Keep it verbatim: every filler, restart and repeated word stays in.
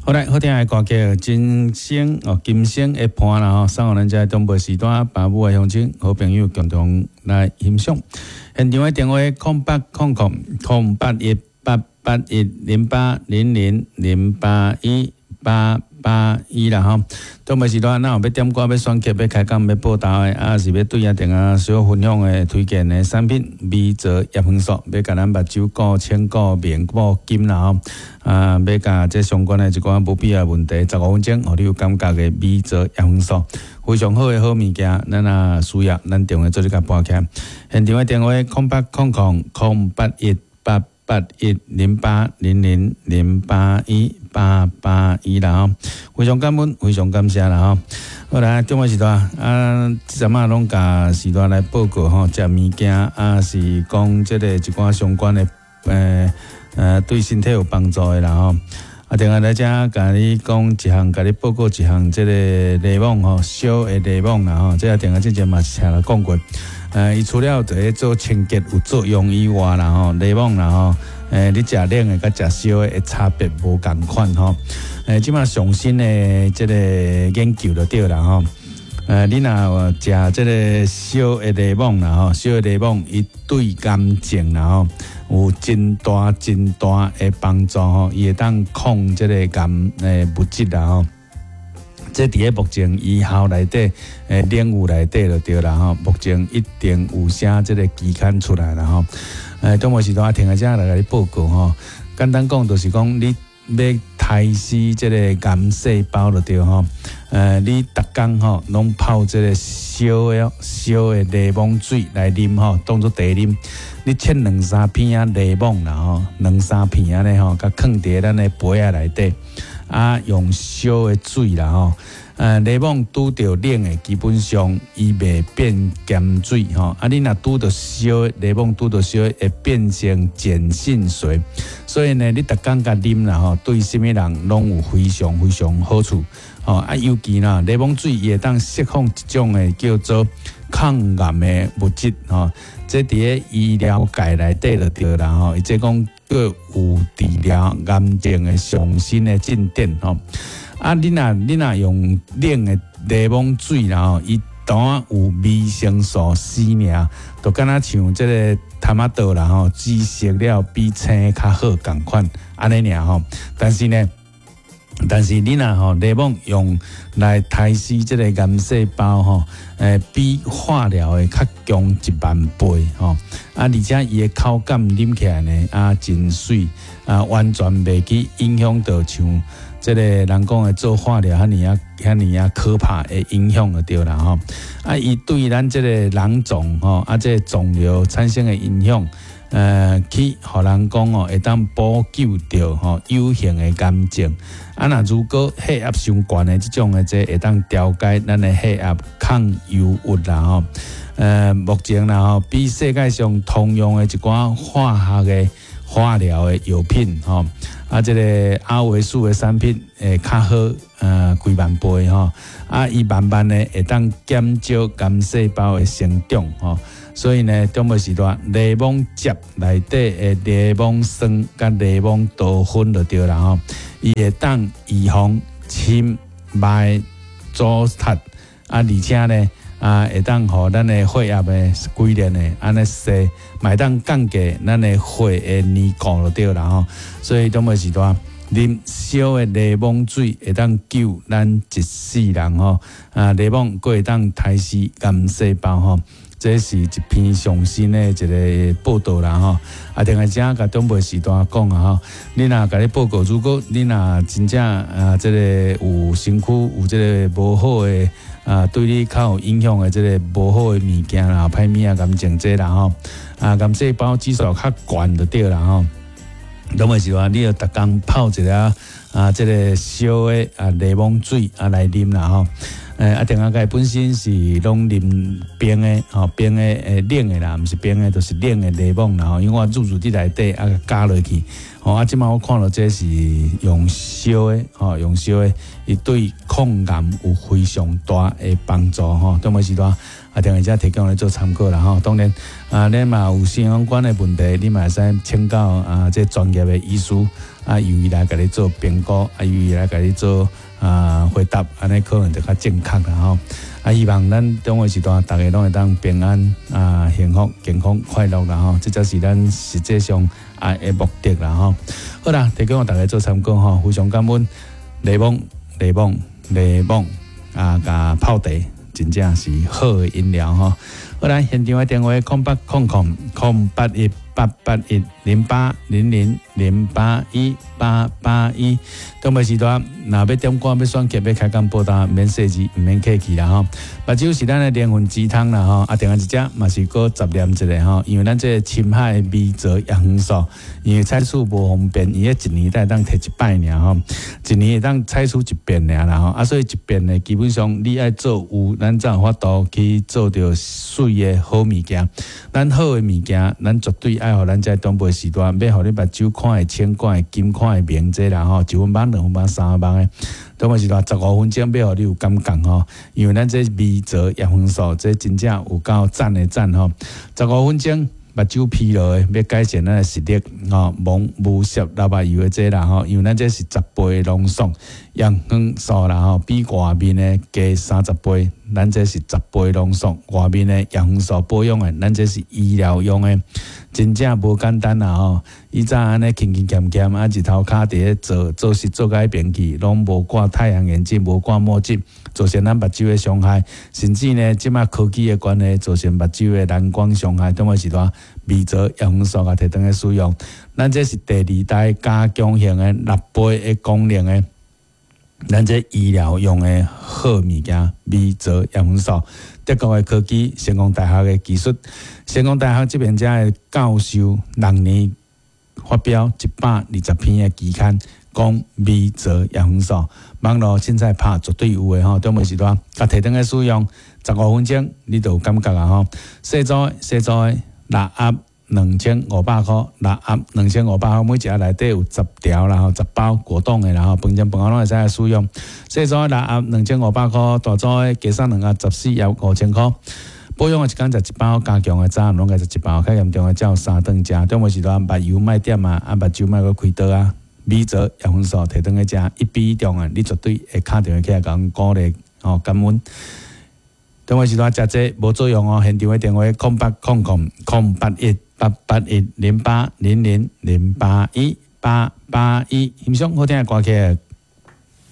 好來，好聽的歌曲《今生》哦，今生的伴啦吼，送予咱遮中部時段爸母的鄉親好朋友共同來欣賞。現場的電話空八空空空八一八八一零八零零零八一八八一啦吼。中部時段，若有欲點歌、欲選曲、欲開講、欲報道的，啊是欲對啊電啊小分享的推薦的產品，微澤葉黃素，欲共咱目睭顧清顧明顧金啦吼。啊，欲共這相關的一寡無必要問題，十五分鐘，予你有感覺的微澤葉黃素，非常好的好物件，咱若需要，咱電話做你共撥起來。現場的電話空八空空空八一八八一零八零零零八一八八一啦吼，非常感恩，非常感謝啦吼。好來，中午時段啊，這陣仔攏共時段來報告吼，食物件啊是講這個一寡相關的，呃呃，對身體有幫助的啦吼。啊，另外來遮共你講一項，共你報告一項，這個檸檬吼，燒的檸檬啦吼，這個定下之前嘛是聽人講過。呃，伊除了佇咧做清潔有作用以外啦吼，檸檬啦吼，欸，你食冷的佮食燒的差別無仝款吼。欸，這馬上新的這個研究就對啦吼。呃，你若食這個燒的檸檬啦吼，燒的檸檬伊對癌症啦吼有真大真大的幫助吼，伊會當抗這個癌的物質啦吼。這佇咧目前醫學內底，欸，領域內底就對啦吼。目前一定有寫這個期刊出來啦吼。欸，中午時段聽下遮來共你報告吼。簡單講就是講，你欲刣死這個癌細胞就對吼。呃，你逐工吼攏泡這個燒的燒的檸檬水來啉吼，當做茶啉。你切兩三片仔檸檬啦吼，兩三片按呢吼，共囥佇咱的杯仔內底。啊，用燒的水啦吼，呃，檸檬拄著冷的，基本上伊袂變鹹水吼。啊，你若拄著燒的檸檬拄著燒的，會變成鹼性水。所以呢，你逐工共啉啦吼，對啥物人攏有非常非常好處。吼啊，尤其啦，檸檬水伊會當釋放一種的叫做抗癌的物質吼。這佇咧醫療界內底就對啦吼，伊這講閣有治療癌症的上新的進展吼。啊，你若你若用冷的檸檬水啦吼，伊當有維生素 C 爾，就敢若像這個頭仔桌啦吼，紫色了比青較好仝款按呢爾吼。但是呢，但是你若吼檸檬用來刣死這個癌細胞吼，欸，比化療的較強一萬倍吼。啊，而且伊的口感啉起來呢，啊，真媠，啊，完全袂去影響到像這個人講的做化療遐爾啊遐爾啊可怕的影響就對啦吼。啊，伊對咱這個囊腫吼，啊，這個腫瘤產生的影響，呃，去予人講哦，會當補救著吼有形的癌症。啊，若如果血壓傷懸的這種的，這會當調節咱的血壓，抗憂鬱啦吼。呃，目前啦吼，比世界上通用的一寡化學的化療的藥品吼，啊，這個阿維素的產品會較好，呃，幾萬倍吼。啊，伊慢慢的會當減少癌細胞的成長吼。所以呢，中午時段檸檬汁內底的檸檬酸佮檸檬多酚就對啦吼，伊會當預防深脈阻塞，啊，而且呢，啊，會當予咱的血壓的規律的按呢踅，嘛會當降低咱的血的凝固就對啦吼。所以中午時段啉燒的檸檬水會當救咱一世人吼，啊，檸檬閣會當刣死癌細胞吼。這是一篇上新的一個報道啦吼，啊，另外遮共長輩時段講啊吼，你若共你報告，如果你若真正啊，這個有身軀有這個無好的啊，對你較有影響的這個無好的物件啦，歹物仔癌症這啦吼，啊，癌細胞指數較懸就對啦吼。長輩時段，你著逐工泡一下啊，這個燒的啊檸檬水啊來啉啦吼。欸，啊，定仔蓋本身是攏啉冰的，吼，冰的欸冷的啦，毋是冰的，就是冷的檸檬啦吼。因為我煮煮佇內底啊，加落去，吼啊，這擺我看著這是用燒的，吼，用燒的，伊對抗癌有非常大的幫助吼。中尾時段啊，定下遮提供來做參考啦吼。當然啊，你嘛有相關的問題，你嘛會使請教啊，這專業的醫師。啊，由伊來共你做評估，啊，由伊來共你做啊回答，按呢可能就較正確啦吼。啊，希望咱長輩時代，逐家攏會當平安啊、幸福、健康、快樂啦吼，這才是咱實際上愛的目的啦吼。好啦，提供予大家做參考吼，非常感恩檸檬、檸檬、檸檬啊，佮泡茶，真正是好的飲料吼。好啦，現場的電話空八空空空八一八八一零八零零零八一八八一。長輩時段，若欲點歌、欲選曲、欲開講報答，免細緻，毋免客氣啦吼。目睭是咱的靈魂雞湯啦吼，啊，另外一隻嘛是閣雜念一下吼，因為咱這個深海微藻葉黃素，因為採取無方便，伊一年才會當提一擺爾吼，一年會當採取一遍爾啦吼，啊，所以一遍呢，基本上你愛做有，咱才有法度去做著媠的好物件。咱好的物件，咱絕對愛予咱這長輩時代，欲予你目睭看會清、看會金、看會明這啦吼，一分目、兩分目、三分目的。長輩時代十五分鐘欲予你有感覺吼，因為咱這微藻葉黃素，這真正有夠讚的讚吼，十五分鐘。目睭疲勞的，欲改善咱的視力吼，無無攝流目油的這啦吼，因為咱這是十倍濃縮葉黃素啦吼，比外面的加三十倍，咱這是十倍濃縮外面的葉黃素保養的，咱這是醫療用的，真正無簡單啦吼。以前按呢勤勤儉儉啊，日頭跤佇咧做做事做甲彼邊去，攏無掛太陽眼鏡，無掛墨鏡，造成咱目睭的傷害，甚至呢，這馬科技的關係，造成目睭的藍光傷害，長輩時代微藻葉黃素共提轉來使用，咱這是第二代加強型的六倍的功能的，咱這醫療用的好物件，微藻葉黃素，德國的科技，成功大學的技術，成功大學這邊遮的教授六年發表一百二十篇的期刊，講微藻葉黃素，網路凊彩拍絕對有的吼，長輩時代，共提轉來使用，十五分鐘你就有感覺啊吼，細組的細組的六盒兩千五百箍，六盒兩千五百箍，每一盒內底有十條啦吼，十包果凍的啦吼，飯前飯後攏會使來使用。細組的六盒兩千五百箍，大組的加送兩盒十四盒五千箍。保養的一工食一包，加強的早暗攏該食一包，較嚴重的才有三頓食。長輩時代目油莫點啊，啊目睭莫閣開刀啊，微藻葉黃素提轉來食，一比一重的，你絕對會敲電話起來共阮鼓勵吼感恩。長輩時代食這無作用哦，現場的電話空八空空空八一八八一零八零零零八一八八一，欣賞好聽的歌曲。